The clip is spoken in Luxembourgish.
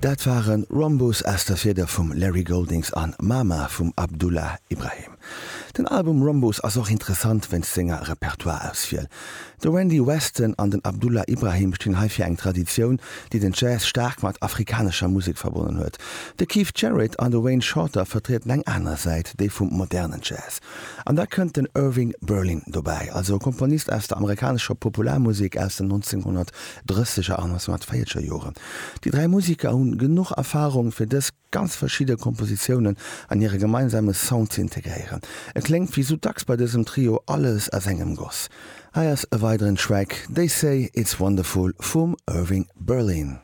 Dat waren Rhombus aus der Fieder vum Larry Goldings an Mama vum Abdullah Ibrahim. Den Album Rhombus ass och interessant wéinst senger Repertoireauswiel. De Randy Weston an den Abdullah Ibrahim stinn hei fir eng Traditioun, déi den Jazz staark mat afrikanescher Musek verbonnen huet. De Keith Jarrett an de Wayne Shorter vertrieden eng aner Säit, déi vum modernen Jazz. An da kënnt den Irving Berlin dobäi, also e Komponist aus der amerikanescher Popularmusek aus den 1930er an 1940er Joren. Déi 3 Museker hunn genuch Erfarung fir dës ganz verschidde Kompositiounen an hire gemeinsame Sound ze integréieren. Et kléngt wéi sou dacks bei dësem Trio alles aus engem Goss. Hei ass e weideren Track, They Say It's Wonderful vum Irving Berlin.